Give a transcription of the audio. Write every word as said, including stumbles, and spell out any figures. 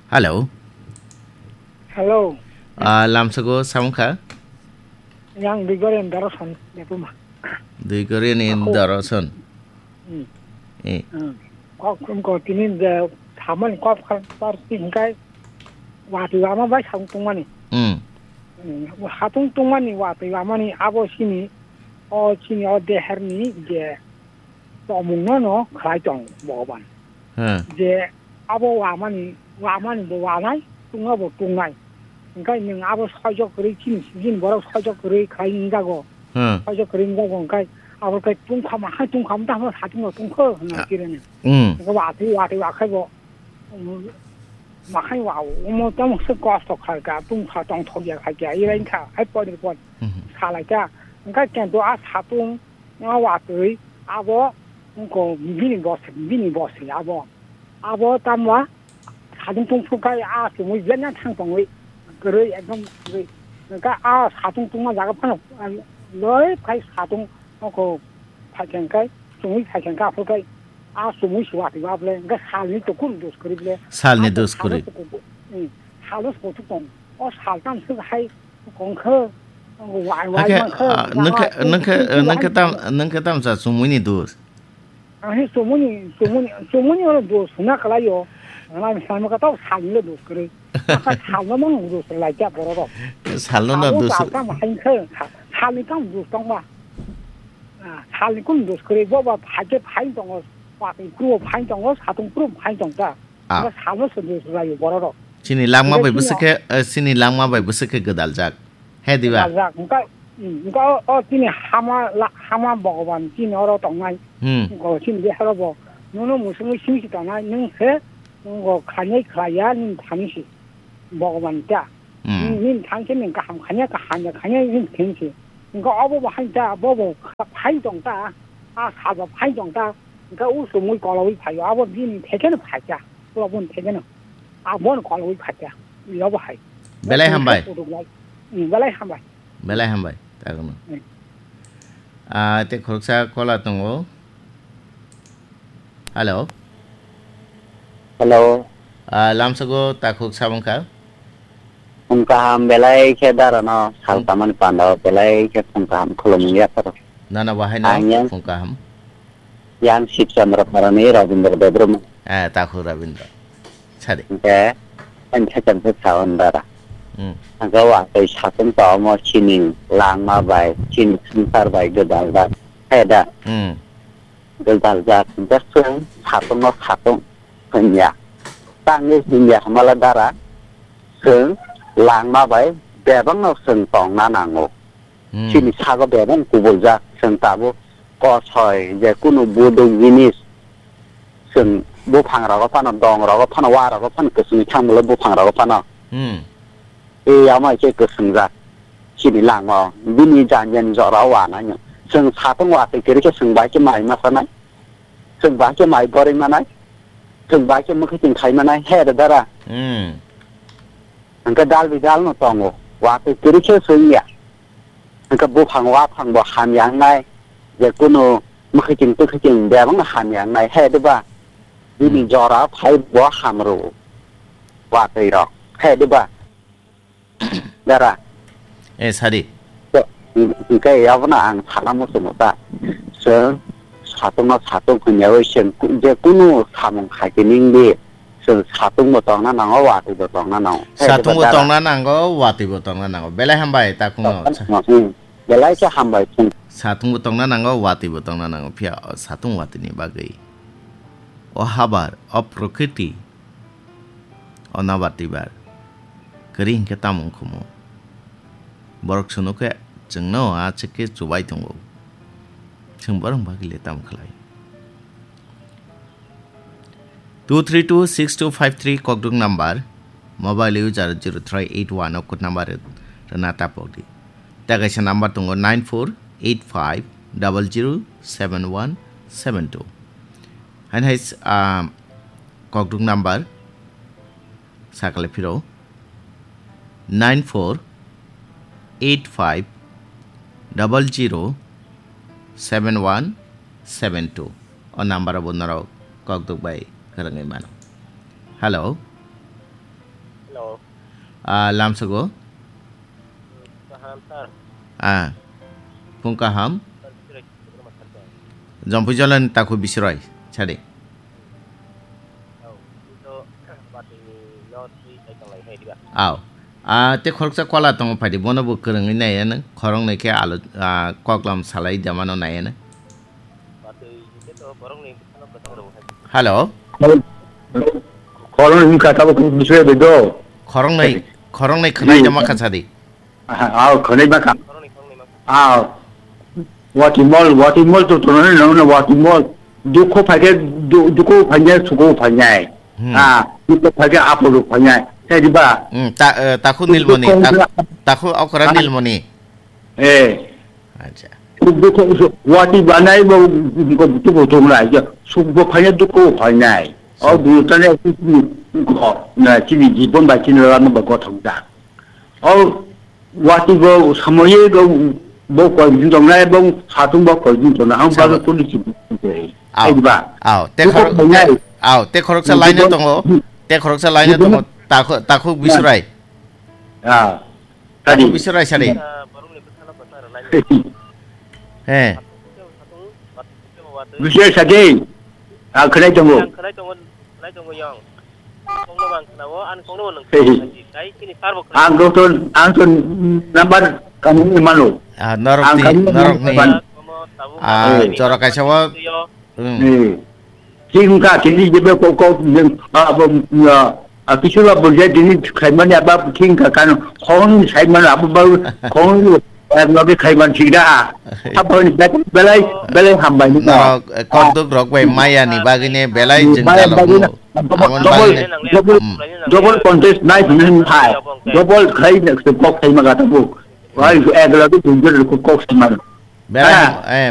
Hello. Hello. Ah, lamsago samung kha? Yang Grigorian Doroson, Depuma. Grigorian in Ako. Doroson. Hmm. Eh. Hmm. Kok, kok tini je samani kok kar, kar tingkai watwi ama bai samung tungmani. Hmm. Hmm. Hatung tungmani watwi amani abo sini, o sini o deherni je tomungno no khlai tong Bhogoban. Hmm. Je abo wamani, wamani bo wanai, tungma bo tungnai. Hingkai nwng abo soijok kwrwi chini, chini borok soijok kwrwi khlai wngjago. Hmm. Soijok kwrwi wngjago hingkai abo khe tungkha ma hai tungkha ma tamo satung bo tungkho hwnwi Ah. kirene. Hmm. Hingke watwi, watwi akhai bo, um, makhai wa, omo tamo se kosto khlai ka, tungkha tongthok ya khai kya, ira wngkha, hai pori pori Hmm. salai ka. Hingkai kento a satung, O watwi abo wngkha bini bwswk, bini bwswk abo. Abo tamo satung tungphuru khai a chumui jena thang tongwi kwrwi ekdom kwrwi. Hwnkhe a satung tungma jaga phano loi khai satung wngkha phaikha hwnkhe chumui phaikha hwnkhe aphuru khai a chumui se watwi ba bole hwnkhe salni to kunu dos kwrwi bole. Salni dos kwrwi. Salno se kuku-, hmm, salno se kuchuk tong. O sal tamo se hai Kongkha, wai, wai, Hakhe, mangkha, ah, nangkha, nangkha, nangkha, nangkha, nangkha tam, nangkha tam sa chumui ni dos. Ang he chumui ni, chumui ni, chumui ni oro dos hwnna kwlai o. Ang ani samo ka tau sal ni dos kwrwi. Aka sal no mang dos lai kya borok rok. Sal no na Sal no dos. Sal tam hai khe, sal, sal ni kam dos tong ba. Ah, sal ni kum dos kwrwi, bo ba phai khe phai tongo, pa khe kru phai tongo, satung kru phai tong ta. Ah. Ba sal no se dos lai o borok rok. Chini langma bai Hingke bwswk chini khe, eh, chini langma bai bwswk khe gwdaljak. He diba? Rajak, wngkha, wngkha o, o chini hama la-, hama Bhogoban chini oro tongnai. Hmm. Wngkha o chini deharo bo. Nono musungwi simi si tongnai, nwng se, wngkha khainai khlaiya, nini thani si. Bhogoban ta. Hmm. Nini, nini thani se nwng kaham khainai, kaham ya khainai, nini thani si. Wngkha obo bo hai ta, bo bo kha-, phai tong ta, a sal bo phai tong ta. Wngkha o chumui kologwi phaio, abo bini thekeno phaikha. Abo boni thekeno. Abo no kologwi phaikha. Yobo hai. Belai hambai. Belai hambai. Belai hambai, takhukno. Hmm. Ah, tei khoroksa caller tongo. Hello. Hello. Ah, lamsago takhuk sabong kha. Phung kaham belai khe dara no sal Hmm. tamani panda o belai khe phung kaham khulumung yapharo. Nana bahai no Ang yang phung kaham. Yang Sibchandra Parani Rabindra Debbarma. Ah, takhuk Rabindra. Sadi. Hingke, ang khe chang khe sa on dara. Hmm. Hingke wa tei satung tongmo chini langma bai, chini swngchar bai gwdal da. Hai da. Hmm. Gwdal jak hingke chwng satung no satung hwnya. Tangwi hwnya hwnmala dara, chwng langma bai bebak no chwng tongna nango. Hmm. Chini sago bebak kubuljak, chwng tabuk kosoi, je kunu buduk jinis, chwng buphang rogo phano, dong rogo phano, wa rogo phano, kwchwngwi thangmolo buphang rogo phano. Hmm. E, amo hai khe kwchwngjak. Chini langmao, bini jan jan jora o wanai no. Chwng satung watwi kwrwi khe chwng bai khe mai ma sanai. Chwng bai khe mai borwi manai. Chwng bai khe mwkhwtwng khai manai. He da dara. Hmm. Hingke dal bi dal no tongo. Watwi kwrwi khe chwng ya. Hingke buphang waphang bo hamya wngnai, je kunu mwkhwtwng twkhwtwng bebak no hamya wngnai, he diba? Bini Hmm. jora phai bo hamrw, watwi rok, he diba? Dara. Eh, sadi. To, hingke abono ang sana muchungo ta. Chwng satung no satung hwnyawi chwng ku-, je kunu samung khai tini wngdi. Chwng satung bo tongna nango, watwi bo tongna nango. Satung bo tongna nango, watwi bo tongna nango. Belai hambai takhukno. Hmm. Belai khe hambai chwng. Satung bo tongna nango, watwi bo tongna nango. Phiya o satung watwi ni bagwi. O habar, o prokriti, o nabar twibar. Kwrwi hinkhe tamo wngkhumu. Borok swnukhe chwngno achikhe chubai tongo. Chwng borok bagwi le tamo khlai? Two three two six two five three kokduk number, mobile user zero three eight one o code number rwna tapokdi. Tei kaisa number tongo nine four eight five double zero seven one seven two. Haino hai, ah, kokduk number sakale phiro nine four eight five double zero seven one seven two. O number bo norok kokduk bai kwrwngwi mano. Hello. Ah, lamsogo. Ah, pung kaham. Jompui jolani takhuk bisroi, sadi. Aw. Ah, te khoroksa kola tongo phaidi, bono bo kwrwngwi naiya nang, khoroknwi khe alo, ah, koklam salai damano naiya nang. Hello. Khoroknwi wngkha tabuk bisroi bai do. Khoroknwi, khoroknwi khwnai dama kha sadi. Aha, aw, khwnai ma kha. Aw, watimol, watimol to tono no, no, watimol. Dukho phaikhe, du-, dukho phainai, sukho phainai. Hmm. Ah, dukho phaikhe, apolo phainai. Sai diba? Hmm, ta-, eh, takhuk nilmoni, ta-, takhuk okra nilmoni. Eh. Acha. Dukho, su-, wati banai bo, bo, dukho tongnai, je, sukbo phainai, dukho phainai. O dutane, ko, na, chini jibon bai chini lama ba gothok da. O wati bo samoye go bo koi din tongnai bo satung bo koi din tongnai ang ba kuli chi. Ai ba. Aw, te khorok, aw, te khoroksa line tongo. Te khoroksa line tongo. Takhuk, takhuk bisroi. Ah. Takhuk bisroi sadi. He. Bisroi sadi. Ah, khwnai tongo. Ang khwnai tongo, khwnai tongo yang. Kongno bang khwnao, ang kongno bang khwnao. Kai chini sar bo khwnai. Ang doktor, ang to number kami ni mano. Ah, norok ni, norok ni. Ah, jora kaisa o. Thing ka tini jebe ko ko, ah, bo, ah, ah, kisu la bo je tini khaimani aba thing ka kan khong ni saimano abo ba khong ni, eh, nogi khaiman thik da. Apa ni belai, belai hambai ni. Norok, eh, korduk rok bai maya ni bagwi ne belai jeng jalok nu. Amon bagwi ne. Double, double, double contest nai hwnwi hai. Double khai ne kok khai ma gata bu. Wai ek la tu jeng jel kok khai ma. Belai, eh,